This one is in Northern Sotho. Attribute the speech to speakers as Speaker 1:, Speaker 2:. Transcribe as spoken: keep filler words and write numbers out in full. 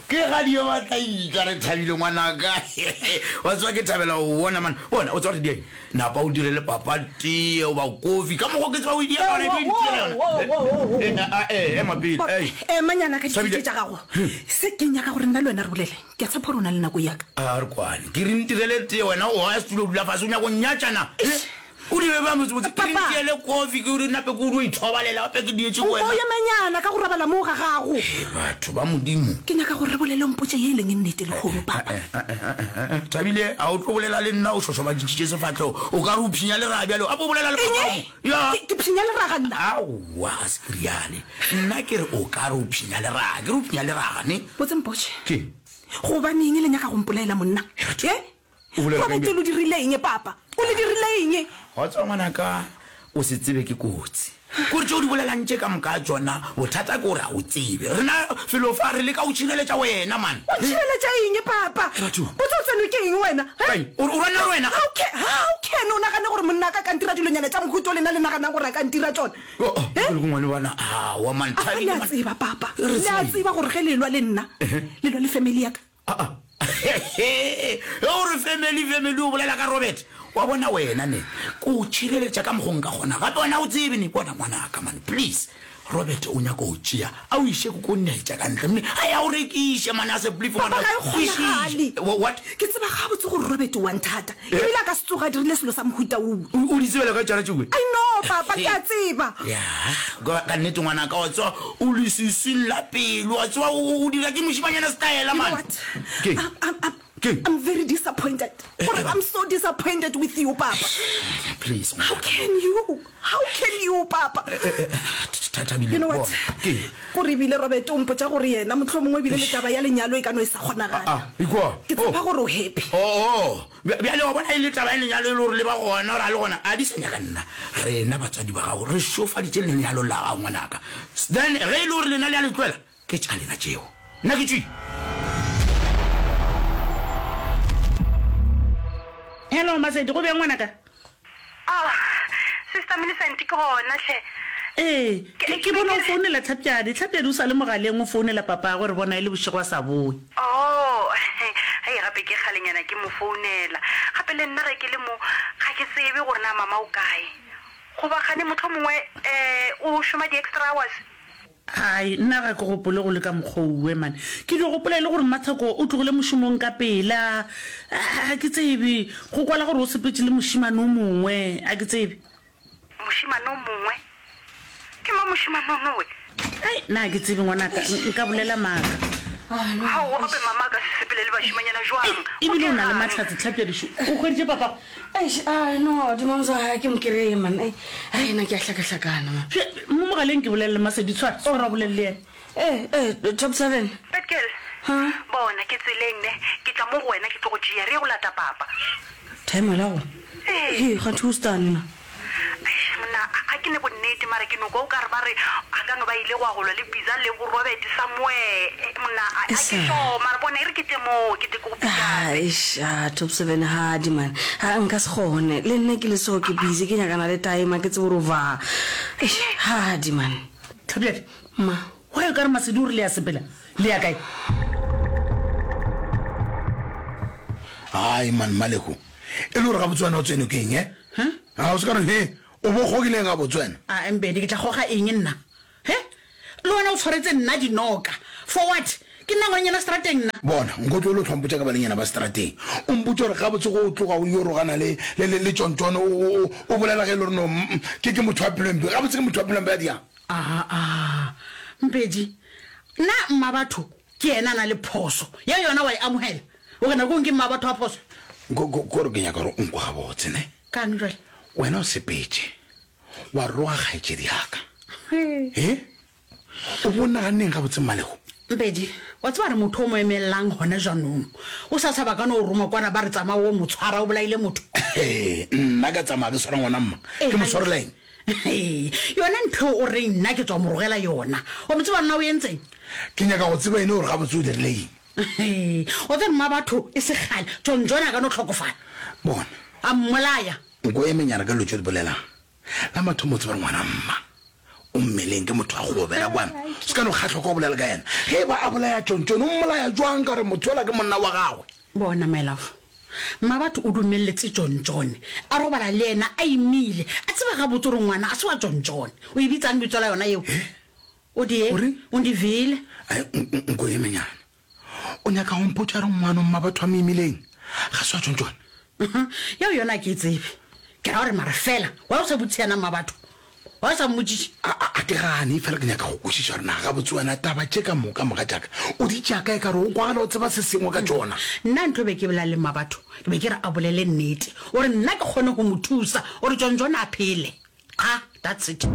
Speaker 1: Ke gadi yo batla itla re thabile ngwanaka. Wa tseba ke thabela go bona man. Bona o tseba re dieng. Napa o dire le papa tee o ba kofi. Ka mokgo ke tseba o e diela yona, e tlo e yona. Eh, ema pele. Ei.
Speaker 2: Ema nyana ka ditee tša gago. Se ke nyaka gore nna le wena re bolele. Ke a tshepa gore o na le nako ya ka.
Speaker 1: A re kwane. Ke re ntirele tee wena o ya setulo o dula fase o nyaka go nnyatša na? O di be bjang botsebotse? Ke re
Speaker 2: Papa.
Speaker 1: ntiele kofi ke re nape ke o dio ithobalela gape ke dietše go
Speaker 2: Nko
Speaker 1: wena.
Speaker 2: emenyana ka go robala moo ga gago.
Speaker 1: Hei batho ba Modimo.
Speaker 2: Ke nyaka gore re bolele o mpotše ye e leng nnete lehono, Papa.
Speaker 1: Thabile, a o tlo bolela le nna o šošobaditšitše sefahlego o ka re o phinya leraga bjalo? Gape o bolela le
Speaker 2: Eng?
Speaker 1: papa mo. Ya.
Speaker 2: Ke, ke phinya leraga nna?
Speaker 1: Aowa, ga se ke reale. Nna ke re o ka re o phinya leraga. Ke re o phinya leraga, ne?
Speaker 2: Botse mpotše.
Speaker 1: Ke?
Speaker 2: Gobaneng le nyaka go mpolaela monna?
Speaker 1: Batho.
Speaker 2: He?
Speaker 1: O bolela ka
Speaker 2: Robert,
Speaker 1: eng?
Speaker 2: le dirile eng, Papa? O le dirile eng?
Speaker 1: Wa tseba ngwanaka, o se tsebe ke kotsi. Kore tše o di bolelang tše ka moka tšona, bothata ke gore ga o tsebe. Rena felo fa re leka go tšhireletša wena, man.
Speaker 2: O ntšhireletša eng, Papa?
Speaker 1: He batho.
Speaker 2: Botse o tsenwe ke eng wena? He?
Speaker 1: Kae? O re o rwana le wena?
Speaker 2: How can, how can o nagane gore monna a ka ka ntira dilonyana tša mohuta o lena le naganang gore a ka ntira tšona?
Speaker 1: Oh, oh,
Speaker 2: He?
Speaker 1: ke ngwane bana. Aowa, man,
Speaker 2: Afa
Speaker 1: Thabile,
Speaker 2: le a
Speaker 1: man.
Speaker 2: tseba, Papa.
Speaker 1: Re
Speaker 2: Le a
Speaker 1: tseba eng?
Speaker 2: tseba gore ge le lwa le nna, le lwa le family ya ka.
Speaker 1: Aa, ge o re family, family, o bolela ka Robert. Wa bona wena ne, ke o tšhireletša ka mokgo nka kgona. Gape wena o tsebe ne, bona ngwanaka man, please. Robert o nyaka go tšea, a o iše ko netša ka ntle, mme a ya o rekiše man, a se please
Speaker 2: Papa,
Speaker 1: ngwanaka,
Speaker 2: ga e
Speaker 1: kwešiše.
Speaker 2: kgonagale.
Speaker 1: What?
Speaker 2: Ke tseba gabotse gore Robert o a nthata, ebile a ka se tsoge a dirile selo sa mohuta woo.
Speaker 1: O, o di tsebela kae tšona tšeoe?
Speaker 2: I know, Papa, ke a tseba.
Speaker 1: Ya, ka, ka nnete ngwanaka, wa tseba o leswiswing la pelo, wa tseba o, o dira ke mošimanyana setaela,
Speaker 2: You know
Speaker 1: man.
Speaker 2: what?
Speaker 1: Ke?
Speaker 2: I'm, I'm, I'm,
Speaker 1: Ke?
Speaker 2: I'm very disappointed. Gore I'm so disappointed with you, Papa.
Speaker 1: Please,
Speaker 2: How
Speaker 1: ngwanaka.
Speaker 2: can you? How can you, Papa?
Speaker 1: Thabile,
Speaker 2: You know what?
Speaker 1: bona. Ke?
Speaker 2: Gore ebile Robert o mpotša gore yena mohlomongwe ebile le taba ya lenyalo e ka no e sa kgonagala.
Speaker 1: Ah, ikwa.
Speaker 2: Ke tshepa gore o happy.
Speaker 1: Oh, oh. Bja- Bjale wa bona e le taba ya lenyalo e le gore le ba gona gore a le gona a di sa nyaka nna. Rena batswadi ba gago re šofaditše lenyalo la gago ngwanaka. Then ge e le gore lena le a le tloela, ke tša lena tšeo. Nna ke tšwile.
Speaker 3: Hello Masedi, go bjang ngwanaka?
Speaker 4: Oh, Sister Millicent, ke gona hle.
Speaker 3: Ee,
Speaker 4: Ke,
Speaker 3: ke,
Speaker 4: ke
Speaker 3: ke
Speaker 4: be
Speaker 3: bona
Speaker 4: ke
Speaker 3: o
Speaker 4: re.
Speaker 3: founela Tlhapjadi. Tlhapjadi o sa le mogaleng o founela papagwe, re bona e le bošego a sa boe.
Speaker 4: Oh, hei, gape ke kgalenyana ke mo founela. Gape le nna ge ke le mo, ga ke tsebe gore na mama o kae. Goba kgane mohlomongwe um o šoma di-extra hours?
Speaker 3: Hai, nna ga ke gopole go le ka mokgwa owe, man. Ke dio gopola e le gore Mmatheko o tlogile mošomong ka pela. Ga ke tsebe. Go kwala gore o sepetše le mošemane o mongwe. A ke tsebe.
Speaker 4: Mošemane o mongwe? Ke mang mošemane onowe?
Speaker 3: Ai, nna ga ke tsebe ngwanaka, nka bolela maaka.
Speaker 4: Aowa, gape mama a ka se sepele le bašemanyana
Speaker 3: Ei,
Speaker 4: jwang? Go
Speaker 3: ebile o na le
Speaker 4: dira'ng?
Speaker 3: mahlatse, Tlhapjadišo. O hweditše papago?
Speaker 5: Eish, ai no, Dimamza, ga ke mo kereye man. Ei, ai nna ke a hlakahlakana man.
Speaker 3: Hle, mo mogaleng ke bolele le Masedi, tshwara, tshwara o bolele le yena.
Speaker 5: Eh, eh, Top Seven.
Speaker 4: Bad girl,
Speaker 5: Huh?
Speaker 4: bona, ke tseleng ne, ke tla mo go wena ke tlo go tšea, re ye go lata papa.
Speaker 5: Timer la go?
Speaker 4: Ee.
Speaker 5: Hei, kganthe o stane na?
Speaker 4: Eish, monna, a, a ke ne bonnete, mara ke no kwa o ka re ba re a ka no ba ile go ya go lwa le Biza le bo Robert somewhere. Eh, monna, a, a ke
Speaker 5: Esa.
Speaker 4: sure, mara bona e re ke tle mo, ke tle ke go
Speaker 5: Ah,
Speaker 4: pick-upe.
Speaker 5: eish, ah, Top Seven, hadi man. Ha, nka se kgone. Le nna ke le so ke busy, ke nyakana le time, ha ke tsebe gore o va. Eish, hadi man.
Speaker 3: Tlhapjadi,
Speaker 5: Ma.
Speaker 3: why o ka re Masedi o re le ya sepela? Le ya kae?
Speaker 6: Hai man, Maleko. E le gore gabotse wena o tsenwe ke eng, eh? A o se ka re, he, o bo kgogile eng gabotse wena?
Speaker 3: A Mbedi, ke tla kgoga eng nna? He? Le wena o tshwaretse nna dinoka. For what? Ke nna ngwanyana strateng nna.
Speaker 6: Bona, nko tlohele o hlwa mpotša ka balenyana ba strateng. O mpotše gore gabotse go tloga o yo rogana le, le, le, le Tšontšono, o, o, o, o bolela ge e le gore no, mm, ke, ke motho wa pelo e mpe. Gabotse ke motho wa pelo e mpe a diang?
Speaker 3: Aa, Mpedi, nna mmabatho ke yena a na le phoso. Ya yona wa e amogela? O re nakong ke mmabatho wa phoso?
Speaker 6: Ko, ko, kore ke nyaka gore o nkwe gabotse, ne?
Speaker 3: Kang jwale?
Speaker 6: Wena o sepetše, wa roga kgaetšedi ya ka. He? O bo naganneng gabotse, Mmalego?
Speaker 3: Mpedi, wa tseba re motho o mo emellang gona jaanong. O sa tshaba ka no o roma kwana ba re tsamaya o mo tshwara o bolaile motho.
Speaker 6: He, nna ka tsamaya ke tshwara ngwana mma.
Speaker 3: Ee,
Speaker 6: Ke mo tshwarela eng?
Speaker 3: He, yona ntho eo o reng nna ke tswa mo rogela yona. Wa mo tseba nna o entseng?
Speaker 6: Ke nyaka go tseba ene gore gabotse o dirile eng.
Speaker 3: He, wa tseba mma batho e se kgale John John a ka no hlokofala.
Speaker 6: Bona.
Speaker 3: A mmolaya.
Speaker 6: Nko emenyana ka dilo tše o di bolelang. La mathomo o tseba gore ngwana mma O mmeleng ke motho wa go obela kwana. Se ka no kgahlwa ka go bolela ka yena. Ge e ba a bolaya Tšontšone, o mmolaya jwang ka gore motho yola ke monna wa gagwe?
Speaker 3: Bona, my love, Mmabatho o dumeletse Tšontšone a robala le yena a imile, a tseba gabotse gore ngwana a se wa Tšontšone. O e bitsang bitso la yona yeo? O die, o ndivile.
Speaker 6: Ai, nko emenyana. O nyaka go mpotša gore ngwano Mmabatho a mo imileng ga se wa Tšontšone?
Speaker 3: Yeo yona a ke e tsebe. Ke ra gore mara fela, why o sa botšiše yena Mmabatho? Why o sa mmotšiše?
Speaker 6: A, a, a ke gane, efela ke nyaka go kwešiša gore na gabotse wena taba tše ka moka, mogatšaka, o di tšea kae ka gore o kwagala o tseba se sengwe ka tšona?
Speaker 3: Nna ntho be ke bolela le Mmabatho, ke be ke re a bolele nnete, gore nna ke kgone go mo thusa gore Tšontšone a phele. Qha, that's it.